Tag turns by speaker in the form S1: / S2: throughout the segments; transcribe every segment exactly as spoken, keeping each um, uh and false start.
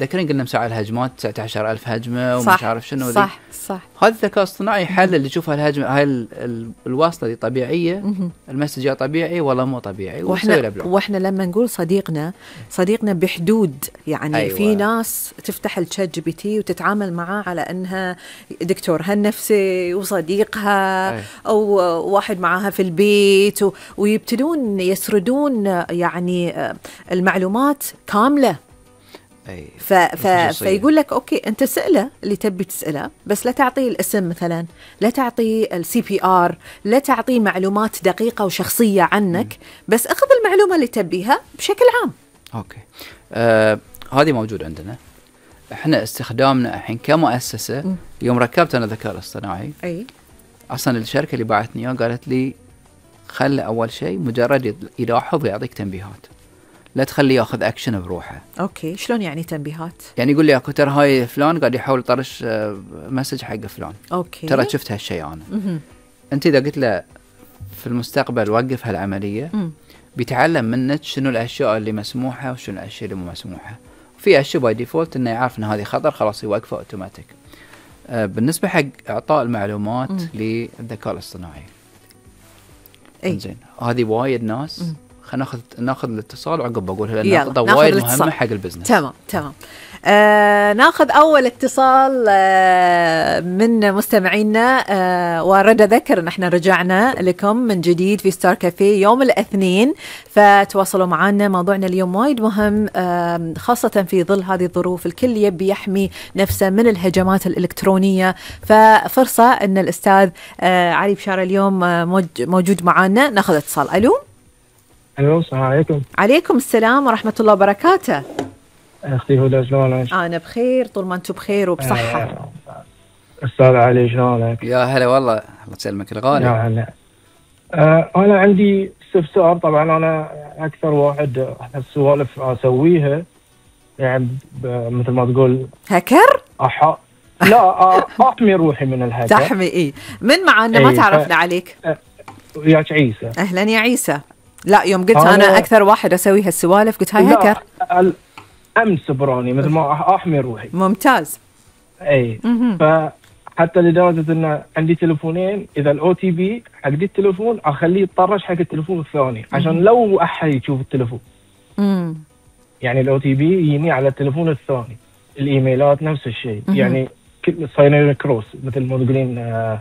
S1: تذكرين قلنا مساع الهجمات تسعة عشر ألف هجمة ومش عارف شنو.
S2: صح صح.
S1: هذا الذكاء الاصطناعي يحلل اللي يشوف الهجمة هاي ال ال الوصلة دي طبيعية، المسج طبيعي ولا مو طبيعي.
S2: واحنا واحنا لما نقول صديقنا صديقنا بحدود يعني أيوة. في ناس تفتح الشات جي بي تي وتتعامل معاه على انها دكتورها النفسي وصديقها أيوة. او واحد معاها في البيت و... ويبتدون يسردون يعني المعلومات كاملة. ف... ف... فيقول لك أوكي أنت سأله اللي تبي تسأله، بس لا تعطيه الاسم مثلا، لا تعطيه السي بي آر، لا تعطيه معلومات دقيقة وشخصية عنك، م. بس أخذ المعلومة اللي تبيها بشكل عام.
S1: أوكي آه، هذه موجود عندنا إحنا استخدامنا الحين كمؤسسة. م. يوم ركبت أنا الذكاء الاصطناعي أي أصلا الشركة اللي باعتني إياه قالت لي خلي أول شيء مجرد يلاحظ ويعطيك تنبيهات، لا تخليه ياخذ اكشن بروحه.
S2: اوكي شلون يعني تنبيهات؟
S1: يعني يقول لي اكو ترى هاي فلان قاعد يحاول يطرش مسج حق فلان.
S2: اوكي
S1: ترى شفت هالشيء انا. م-م. انت اذا قلت له في المستقبل وقف هالعمليه م. بيتعلم منك شنو الاشياء اللي مسموحه وشنو الاشياء اللي مو مسموحه. في اشياء باي ديفولت انه يعرف ان هذه خطر خلاص يوقفه اوتوماتيك. آه بالنسبه حق اعطاء المعلومات م. للذكاء الاصطناعي
S2: اي
S1: زين هذه وايد ناس م. خلينا ناخذ ناخذ الاتصال وعقب بقولها لأن نقطة وايد مهمة حق البزنس.
S2: تمام تمام. آه ناخذ أول اتصال آه من مستمعينا آه ورد ذكر إن إحنا رجعنا لكم من جديد في ستار كافيه يوم الاثنين، فتواصلوا معنا. موضوعنا اليوم وايد مهم آه خاصة في ظل هذه الظروف، الكل يبي يحمي نفسه من الهجمات الإلكترونية، ففرصة إن الأستاذ آه علي بشارة اليوم آه موجود معنا. ناخذ اتصال. ألو.
S3: الو السلام عليكم.
S2: عليكم السلام ورحمة الله وبركاته.
S3: اختي هدى شلونك؟
S2: انا بخير طول ما انتم بخير وبصحة.
S3: أه استاذ علي شلونك؟
S1: يا هلا والله الله يسلمك الغالي.
S3: يا هلا. أه انا عندي استفسار. طبعا انا اكثر واحد السوالف اسويها يعني مثل ما تقول
S2: هاكر؟
S3: أح... لا احمي روحي من الهاكر.
S2: تحمي ايه من معنا إيه ما تعرفنا ف... عليك.
S3: أه وياك عيسى.
S2: اهلا يا عيسى. لا يوم قلت أنا, أنا أكثر واحد أسوي هالسوالف قلت هاي هاكر.
S3: أمس براني مثل ما أحمي روحي.
S2: ممتاز.
S3: أي فحتى لدرجة إن عندي تلفونين، إذا الأو تي بي حق دي التلفون أخليه يطرش حق التلفون الثاني عشان لو أحد يشوف التلفون. مم. يعني الأو تي بي يجيني على التلفون الثاني، الإيميلات نفس الشيء. يعني صايرين كروس مثل ما تقولين آه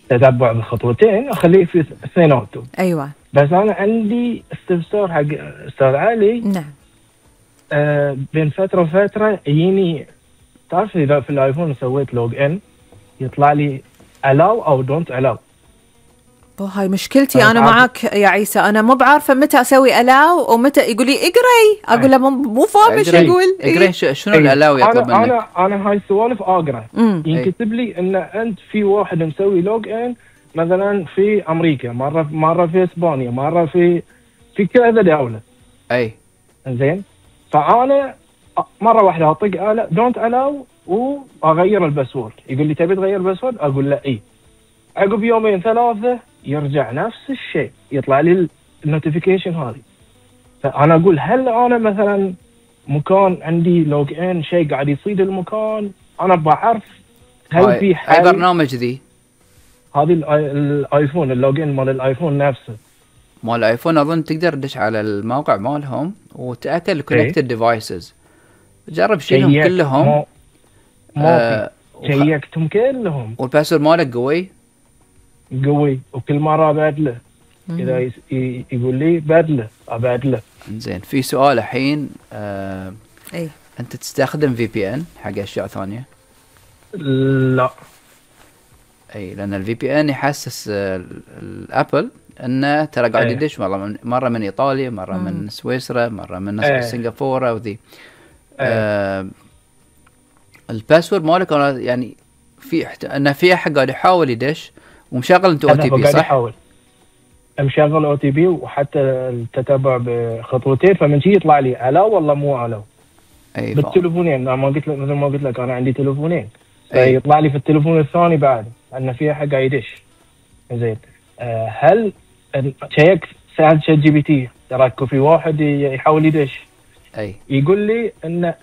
S3: تتبع بالخطوتين أخليه في اثنيناتهم.
S2: أيوة.
S3: بس أنا عندي استفسار حق أستاذ علي.
S2: نعم.
S3: آه بين فترة وفترة يجيني، تعرف إذا في الآيفون سويت لوج إن يطلع لي allow أو don't allow.
S2: هاي مشكلتي أنا معك يا عيسى، أنا مو بعارفة متى أسوي allow ومتى يقول لي اقرأي، أقول له مو فاهم إيش يقول.
S1: اقرأي شنو الallow يطلب منك؟
S3: أنا أنا هاي السوالف أقرأ. ينكتب لي إن أنت في واحد مسوي لوج إن مثلا في أمريكا، مرة مرة في إسبانيا، مرة في في كذا دولة.
S1: أي.
S3: إنزين. فأنا مرة واحدة أطق على don't allow وأغير الباسورد، يقول لي تبي تغير الباسورد؟ أقول له إيه. عقب يومين ثلاثة يرجع نفس الشيء، يطلع لي النوتيفيكيشن هذه. فأنا أقول هل أنا مثلا مكان عندي لوج إن شيء قاعد يصيد المكان، أنا بعرف هل في حل؟
S1: أي برنامج ذي؟
S3: هذه الآيفون اللوج إن مال الآيفون نفسه.
S1: مال الآيفون أظن تقدر تدش على الموقع مالهم وتأكد الكونكتد ديفايسز. جرب شيلهم كلهم.
S3: ما ما شيكتهم كلهم.
S1: والباسورد مالك قوي؟
S3: قوي وكل مرة أبدله. إذا يقول لي بدله أبدله.
S1: إنزين في سؤال الحين آه
S2: أي.
S1: أنت تستخدم في بي إن حق أشياء ثانية؟
S3: لا.
S1: أي لأن الفي بي إن يحسس الأبل إنه ترى قاعد يدش مرة من مرة من إيطاليا، مرة مم. من سويسرا، مرة من أيه. سنغافورة وذي. آه الباسورد مالك أنا يعني في احت... إنه في أحد قاعد يحاول يدش ومشغل أنت أو تي بي صح؟
S3: يحاول. مشغل أو تي بي وحتى التتبع بخطوتين، فمن شيء يطلع لي على والله مو على.
S1: أي
S3: بالتلفونين ما قلت لك مثل ما قلت لك أنا عندي تلفونين. أي. يطلع لي في التلفون الثاني بعد أن في أحد قاعد يدش. زين. أه هل شيك سألت شات جي بي تي ترى في واحد يحاول يدش.
S1: أي.
S3: يقول لي إن